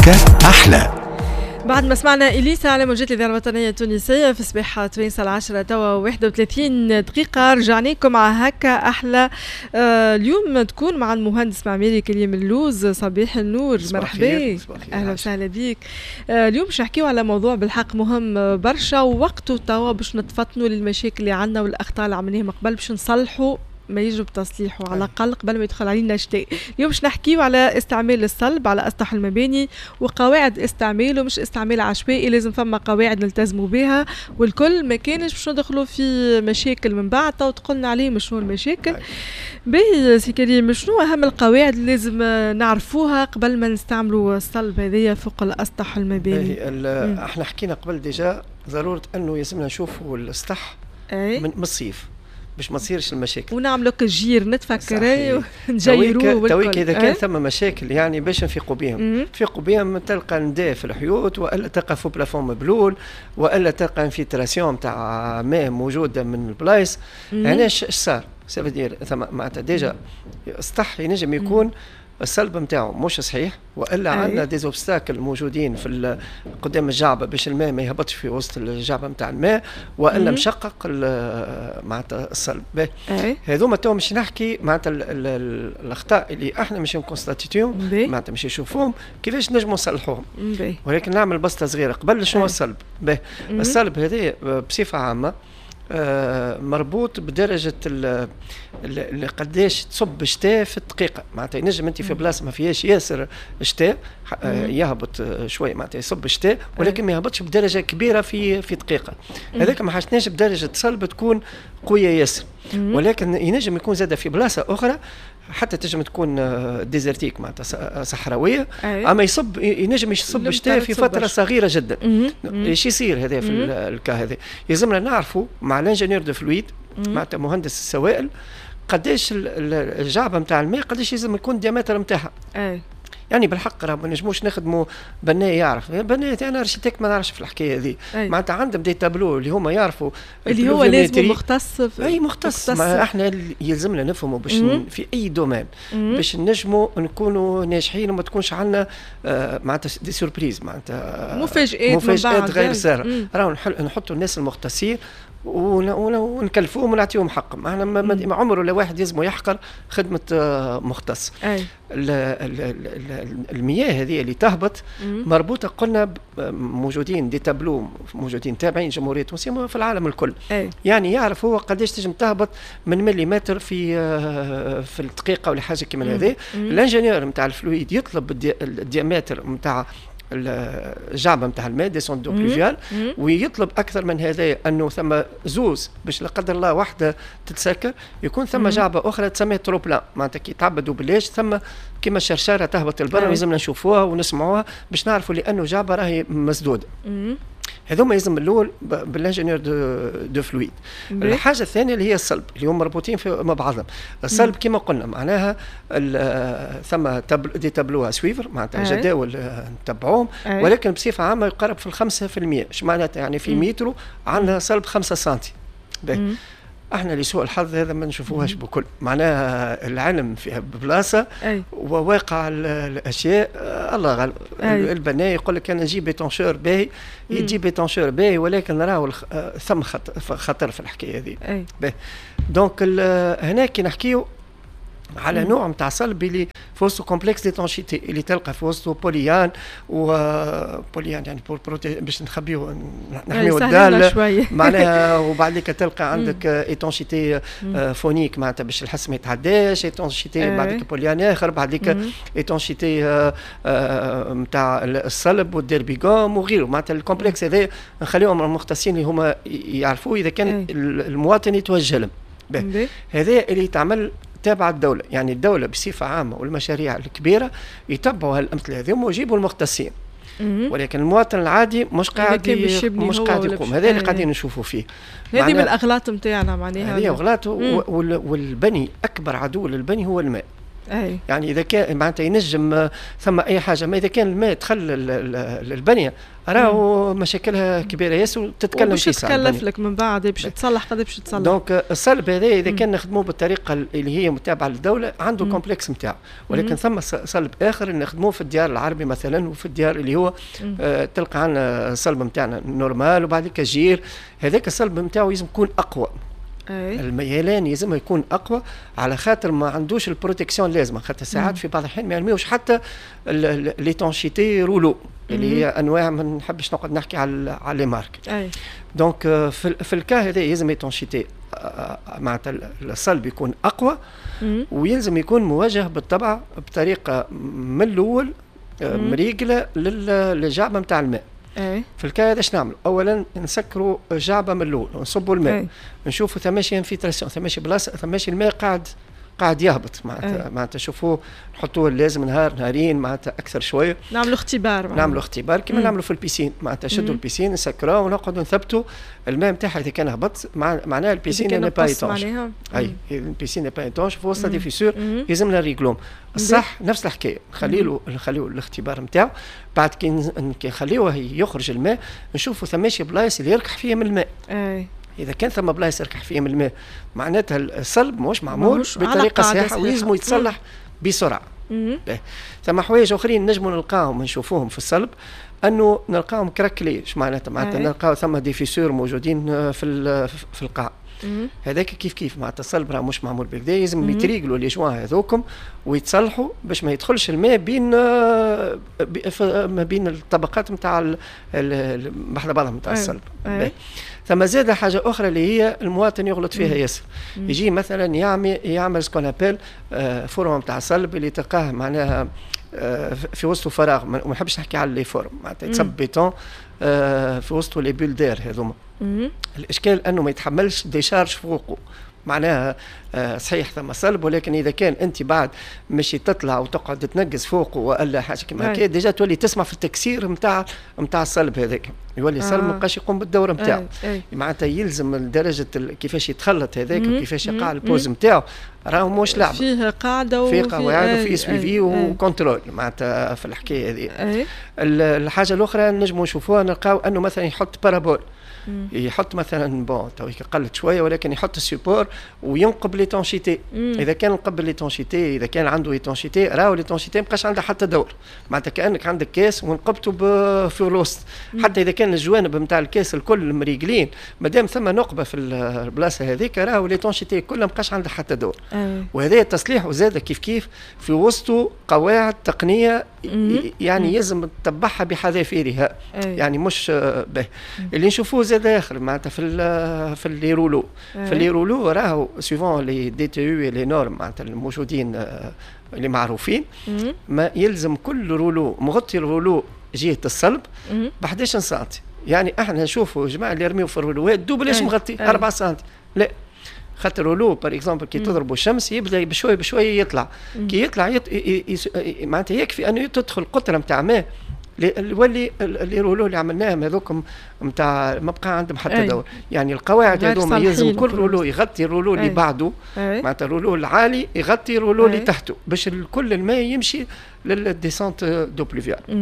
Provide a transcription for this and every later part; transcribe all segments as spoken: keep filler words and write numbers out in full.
هكا أحلى. بعد ما سمعنا اليسا على موجات الاذاعة الوطنية التونسية في صباح تونس، العشرة توا واحد وثلاثين دقيقه، رجعنا لكم مع هكا احلى. آه اليوم تكون مع المهندس معماري كريم اللوز. صباح النور، مرحبا، اهلا وسهلا بك. آه اليوم باش نحكيو على موضوع بالحق مهم برشا ووقته توا، باش نتفطنوا للمشاكل اللي عندنا والاخطاء اللي عملناها قبل، باش نصلحوا ما يجب تصليحه على الاقل قبل ما يدخل علينا الشتاء. اليوم باش نحكيو على استعمال الصلب على اسطح المباني وقواعد استعماله، مش استعمال عشوائي، لازم فما قواعد نلتزموا بها والكل، ما كانش باش ندخلوا في مشاكل من بعد. تو تقولنا عليه شنو المشاكل. باهي سي كريم، شنو اهم القواعد اللي لازم نعرفوها قبل ما نستعملوا الصلب هذيا فوق الاسطح المباني؟ احنا حكينا قبل déjà ضرورة انه يلزمنا نشوفوا السطح من الصيف باش ما تصيرش المشاكل. ونعملوا كجير، نتفكر نجيروه. تويك اذا كان ثم مشاكل يعني باش نفيقوا بهم، نفيقوا بهم، تلقى نداء في الحيوط والا تلقى faux plafond مبلول والا تلقى infiltration تاع ماء موجودة من البلايص. علاش؟ اش صار؟ ça veut dire ثم معناتها déjà السطح ينجم يكون الصلب نتاعو مش صحيح، والا عندنا des obstacles موجودين في قدام الجعبه باش الماء ما يهبطش في وسط الجعبه نتاع الماء، والا مشقق معناتها الصلب. هذوما تو مش نحكي معناتها الاخطاء اللي احنا مش ن constater يوهم، معناتها مش نشوفوهم كيفاش نجموا نصلحوهم، ولكن نعمل بسطه صغيرة قبل. شنو الصلب؟ الصلب هذا بصفة عامة آه، مربوط بدرجة قداش تصب شتاء في الدقيقه. معناتها ينجم انت في بلاصة ما فيهاش ياسر شتاء آه، يهبط شوي، معناتها يصب شتاء ولكن ما يهبطش بدرجة كبيرة في في دقيقه. هذاك ما حاجتناش بدرجة صلب تكون قوية ياسر، ولكن ينجم يكون زاد في بلاصة اخرى حتى تنجم تكون désertique، معناتها صحراويه، اما يصب، ينجم يصب شتاء في فترة صغيرة جدا. ايش يصير هذا في ال cas هذا؟ يلزمنا نعرفوا مع l'ingénieur de fluides، معناتها مهندس السوائل، قداش الجعبه نتاع الماء، قداش لازم يكون ال diamètre نتاعها. يعني بالحق راه ما نجموش نخدموا بناء يعرف بناء، انا architecte ما نعرفش في الحكاية هذه. معناتها عندهم des tableaux اللي هما يعرفوا. اللي هو لازم مختص. في اي مختص, مختص. ما احنا يلزمنا نفهموا باش في اي domaine باش نجموا نكونوا ناجحين وما تكونش عندنا آه معناتها des surprises، معناتها مفاجآت. مفاجآت غير ساره. راهو نحطوا الناس المختصين ونكلفوهم ونعطيهم حقهم. احنا ما عمره لا واحد يلزم يحقر خدمة آه، مختص. أي. المياه هذه اللي تهبط مربوطه، قلنا موجودين des tableaux موجودين تابعين جمهورية تونسية في العالم الكل. أي. يعني يعرف هو قداش تنجم تهبط من مليمتر في آه، في الدقيقة ولا حاجة كيما هذه. l'ingénieur نتاع ال fluides يطلب ال diamètre نتاع الجعبه نتاع الماء، descente d'eau pluviale، ويطلب اكثر من هذا انه ثم زوز باش لا قدر الله واحدة تتسكر يكون ثم جعبه اخرى تسمى trop-plein، معناتها كي تعبدوا بلاش ثم كيما الشرشاره تهبط البر، لازمنا نشوفوها ونسمعوها باش نعرفوا لانه جعبه راهي مسدودة. هذوما يلزم الاول بال ingénieur de, de fluides. الحاجة الثانية اللي هي الصلب، اللي هم مربوطين في مع بعضهم. الصلب كما قلنا معناها ثم des tableaux à suivre، معناتها جداول نتبعوهم، ولكن بصفة عامة يقرب في الخمسة في المية. ايش معناتها؟ يعني في مترو عندنا صلب خمسة سنتي. احنا لسوء الحظ هذا ما نشوفوهاش بكل، معناها العلم في بلاصة وواقع الاشياء آه، الله غالب. البناء يقول لك انا نجيب étancheur باهي، يجيب étancheur باهي، ولكن راهو آه، ثم خطر في الحكاية هذه. donc هنا كي نحكيو على نوع نتاع صلب اللي في وسطه complexe d'étanchéité، اللي تلقى في وسطه polyane و polyane يعني باش نخبيو نحميو ال dalle معناها، وبعد تلقى عندك étanchéité phonique معناتها باش الحس ما يتعداش، étanchéité بعد polyane اخر، بعد étanchéité نتاع الصلب وال Derbigum وغيره. معناتها ال complexe هذا نخليهم المختصين اللي هما يعرفوه، اذا كان المواطن يتوجه لهم. هذا اللي يتعمل تابع الدولة، يعني الدولة بصفة عامة والمشاريع الكبيرة يتبعوا هالأمثلة هذوما ويجيبوا المختصين، ولكن المواطن العادي مش قاعد مش قاعد يقوم. هذا اللي قاعدين نشوفوا فيه. هذه من الاغلاط نتاعنا معناها. هذه اغلاط، والبني اكبر عدو للبني هو الماء. أي. يعني اذا كان معناتها ينجم ثم اي حاجه، ما اذا كان الماء دخل البنية راهو مشاكلها كبيرة ياسر وتتكلم في تكلف لك من بعد باش تصلح، قد باش تصلح. donc الصلب هذا اذا كان نخدموه بالطريقة اللي هي متابعه للدولة عنده complexe نتاعو، ولكن ثم صلب اخر نخدموه في الديار العربي مثلا، وفي الديار اللي هو آه تلقى عندنا الصلب نتاعنا normal وبعد جير، هذاك الصلب نتاعو لازم يكون اقوى. أي. الميلان يلزم يكون اقوى على خاطر ما عندوش ال protection لازمه، خاطر ساعات في بعض الاحيان ما يرميوش حتى l'étanchéité rouleau اللي هي انواع، ما نحبش نقعد نحكي على على les marques. أي. donc في, في ال cas هذا يلزم étanchéité، معناتها الصلب يكون اقوى ويلزم يكون موجه بالطبع بطريقة من الاول مريقله للجعبه نتاع الماء. أي. في ال cas هذا اش نعملوا؟ اولا نسكروا جعبه من الاول ونصبوا الماء. أي. نشوفوا ثماشي infiltration، ثماشي بلاصه، ثماشي الماء قاعد قاعد يهبط، معناتها معناتها شوفوه نحطوه لازم نهار نهارين معناتها اكثر شويه. نعملوا اختبار. نعملوا اختبار كما نعملوا في ال piscine، معناتها شدوا ال piscine نسكروه ونقعدوا نثبتوا الماء نتاعها، اذا كان هبط معناها ال piscine n'est pas étanche. اي ال piscine n'est pas étanche، في وسط des fissures يلزمنا ريغلوم. الصح نفس الحكايه، نخلي له نخليه الاختبار نتاعو، بعد كي نخليوه يخرج الماء نشوفوا ثماشي بلايص اللي يركح فيهم الماء. اي اذا كان ثم بلايص يركح فيهم الماء معناتها الصلب مش معمول بطريقة صحيحه ويلزم يتصلح بسرعه. ثم حوايج اخرين نجموا نلقاهم نشوفوهم في الصلب، انه نلقاهم craquelés. اش معناتها؟ معناتها نلقاو ثم des fissures موجودين في في القاع. هذاك كيف كيف معناتها الصلب راه مش معمول بالكدا، لازم يتريقلوا les joints هذوكم ويتصلحوا باش ما يدخلش الماء بين ما بين الطبقات نتاع بحذا بعضهم نتاع الصلب. ثم زاد حاجة اخرى اللي هي المواطن يغلط فيها ياسر، يجي مثلا يعمل يعمل ce qu'on appelle forme نتاع الصلب اللي تلقاه معناها في وسطه فراغ، ما نحبش نحكي على les formes، معناتها يتصب بيتون في وسطه les bulles d'air هذوما. الاشكال انه ما يتحملش décharge فوقه، معناها صحيح ثم صلب، ولكن اذا كان انت بعد مشي تطلع وتقعد تنقز فوقه والا حاجة كيما هكا، déjà تولي تسمع في التكسير نتاع نتاع الصلب هذاك، يولي الصلب ما بقاش يقوم بالدور نتاعو. معناتها يلزم درجه كيفاش يتخلط هذاك وكيفاش يقع ال pose نتاعو، راهو مش لعبه، فيه قاعدة وفيه قواعد وفيه suivi و contrôle معناتها في الحكاية هذه. الحاجة الاخرى نجموا نشوفوها، نلقاو انه مثلا يحط parabole، يحط مثلا bon تو قلت شويه، ولكن يحط ال support وينقب l'étanchéité. اذا كان نقب l'étanchéité، اذا كان عنده étanchéité، راهو l'étanchéité ما بقاش عندها حتى دور، معناتها كانك عندك كاس ونقبته في الوسط. حتى اذا كان الجوانب نتاع الكاس الكل مريقلين، مادام ثم نقبه في البلاصة هذيك راهو l'étanchéité كلها ما بقاش عندها حتى دور. وهذا التصليح وزاد كيف كيف في وسطه قواعد تقنية يعني يلزم تتبعها بحذافيرها، يعني مش به اللي نشوفوه زاد اخر معناتها في في les rouleaux. في les rouleaux راهو suivant les DTU les normes معناتها الموجودين اللي معروفين، ما يلزم كل rouleau مغطي ال rouleau جهة الصلب ب أحد عشر سنتي. يعني احنا نشوفوا جماعة اللي يرميو في الرولوات double اش مغطي أربعة سنتي، لا خاطر rouleau par exemple كي تضربوا الشمس يبدا بشوي بشوي يطلع، كي يطلع يط... معناتها يكفي انه تدخل قطرة نتاع ماء يولي les rouleaux اللي عملناهم هذوكم نتاع ما بقى عندهم حتى دور. يعني القواعد هذوما يلزم كل rouleau يغطي ال rouleau اللي بعده، معناتها ال rouleau العالي يغطي ال rouleau اللي تحته باش كل الماء يمشي لل descente d'eau pluviale.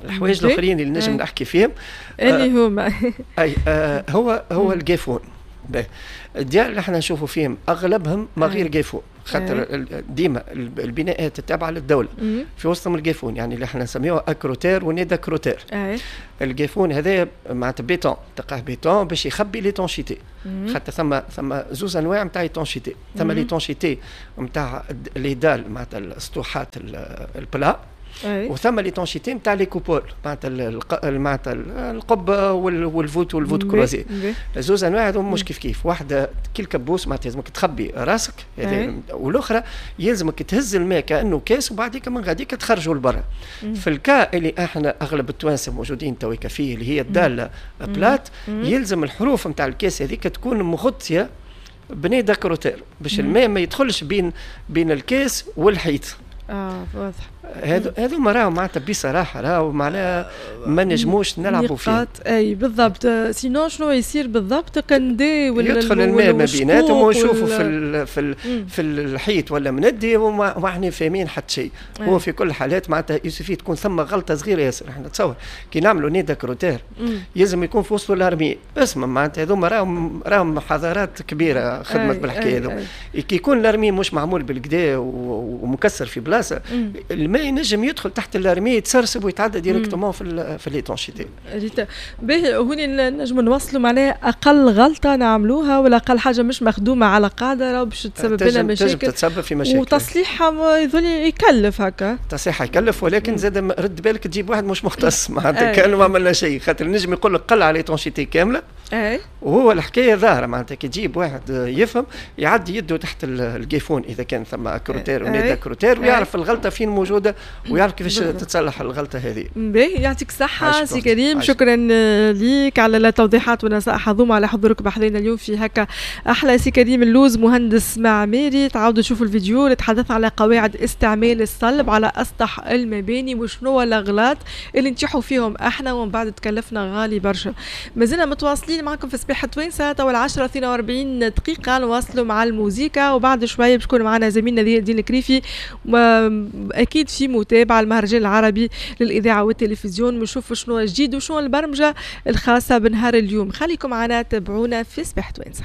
الحوايج الاخرين اللي نجم نحكي فيهم اللي هما اي آه هو هو الجيفون. الديار اللي احنا نشوفوا فيهم اغلبهم ما غير جيفون، خاطر ديما البناءات التابعة للدولة في وسطهم الجيفون، يعني اللي احنا نسميوه acrotère و nez d'acrotère. الجيفون هذا معناتها بيتون، تلقاه بيتون باش يخبي l'étanchéité، خاطر ثم ثم زوز انواع نتاع étanchéité، ثم l'étanchéité نتاع les dalles معناتها السطوحات ال plats، وثم l'étanchéité نتاع les coupoles معناتها معناتها القبة وال voûte وال voûte croisée. زوز انواع هذوما مش كيف كيف، واحدة كي الكبوس معناتها لازمك تخبي راسك، والاخرى يلزمك تهز الماء كانه كاس وبعديك من غاديك تخرجوا لبرا. في ال cas اللي احنا اغلب التوانسة موجودين تويكا فيه اللي هي ال dalle plate، يلزم الحروف نتاع الكاس هذيك تكون مغطيه ب nez d'acrotère باش الماء ما يدخلش بين بين الكاس والحيط. اه واضح. هذو هذوما راهو معناتها بصراحة راهو معناها ما نجموش نلعبوا فيه. اي بالضبط، sinon شنو يصير بالضبط؟ كندي ولا يدخل الماء ما بيناتهم ونشوفوا في ال في ال في الحيط ولا مندي وما احنا فاهمين حتى شيء. هو في كل الحالات معناتها il suffit تكون ثم غلطه صغيرة ياسر. احنا تصور كي نعملوا nid d'acrotère يلزم يكون في وسط ال larmier، اسمع معناتها هذوما راهم راهم حضارات كبيرة خدمت بالحكاية هذو. كي يكون ال larmier مش معمول بالقدا ومكسر في بلاصة، الماء ينجم يدخل تحت ال larmier، يتسرسب ويتعدى directement في ال في l'étanchéité. باهي، هوني نجم نوصلوا معناها اقل غلطه نعملوها ولا اقل حاجة مش مخدومة على قاعدة باش تسبب لنا مشاكل، تنجم تتسبب في مشاكل وتصليحها يظل يكلف هكا. تصليحها يكلف، ولكن زاد رد بالك تجيب واحد مش مختص، معناتها كانه ما عملنا شيء، خاطر نجم يقول لك قلع l'étanchéité كاملة. اي وهو الحكاية ظاهره، معناتها كي تجيب واحد يفهم يعدي يده تحت ال griffoir اذا كان ثم acrotère و nid d'acrotère ويعرف الغلطة فين موجودة ويعرف كيفاش تتصلح الغلطة هذه. باهي، يعطيك الصحة سي كريم، شكرا ليك على التوضيحات والنصائح هذوما، على حضورك بحذينا اليوم في هكا احلى. سي كريم اللوز مهندس معماري، تعاودوا تشوفوا الفيديو اللي تحدث على قواعد استعمال الصلب على اسطح المباني وشنو الاغلاط اللي نتيحوا فيهم احنا ومن بعد تكلفنا غالي برشا. مازلنا متواصلين معكم في صباح توانسة، تو العشرة اثنين وأربعين دقيقة، نواصلوا مع الموزيكا وبعد شوية باش يكون معنا زميلنا دين الكريفي أكيد في متابعة المهرجان العربي للإذاعة والتلفزيون، ونشوفوا شنو جديد وشنو البرمجة الخاصة بنهار اليوم. خليكم معنا، تابعونا في صباح توانسة.